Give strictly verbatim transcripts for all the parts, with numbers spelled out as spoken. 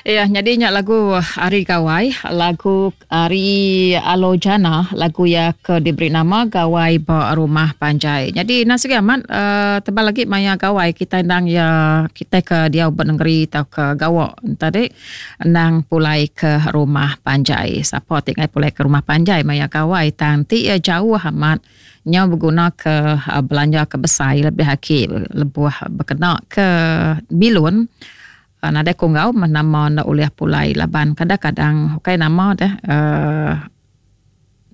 Ya, nyadi nya lagu Hari Gawai, lagu ari Alo Jana, lagu iya ke diberi nama Gawai ba Rumah Panjai. Nyadi enda sigi amat uh, tebal agi maya gawai kitai endang iya kitai ke diau ba nengeri tauka gawa tadi endang pulai ke rumah panjai. Sapa ti ngai pulai ke rumah panjai maya gawai tang ti iya jauh amat nyau beguna ke uh, belanja ke besai lebih agi lebuh bekena ke bilun. Uh, nadai ku enggau meh nama enda ulih pulai laban kadang-kadang ukai nama deh uh,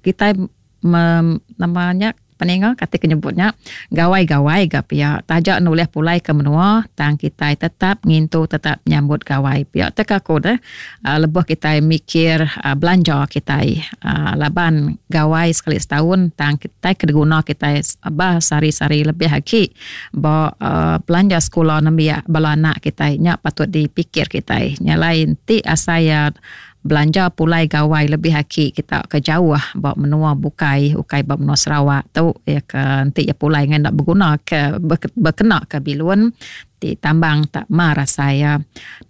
kitai mem, nama nya peninga kati ke nyebut nya gawai-gawai ga pia taja enda ulih pulai ke menua tang kitai tetap ngintu tetap nyambut gawai pia te ka aku deh uh, lebuh kitai mikir uh, belanja kitai uh, laban gawai sekali setahun tang kitai ke diguna kitai bah sehari-sehari lebih agi ba uh, belanja sekula nembiak bala anak kitai nya patut dipikir kitai. Nya lain ti asai ya belanja pulai gawai lebih agi kita ke jauh ba menua bukai ukai ba menua Sarawak tu ya ke enti ya pulai ngan enda beguna ke bekena ke bilun ti tambang tak mar asai ya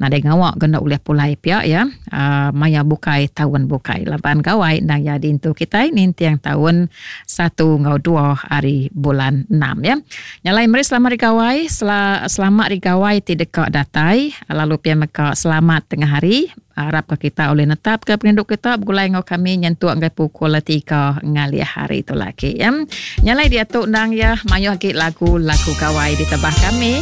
nadai ngawa ke enda ulih pulai pia ya uh, maya bukai taun bukai laban gawai endang ya dintu kitai ninting taun satu enggau dua hari bulan enam ya. Nyalai meri selamat hari gawai, sel- selamat hari gawai ti deka datai lalu pia mega selamat tengah hari. Harap ke kita boleh netap ke perindu kita begulai enggau kami nyentuk ngagai pukul tiga ngalih hari tu lagi ya. Nyalai dia tu endang ya mayuh agi lagu-lagu gawai ditebah kami.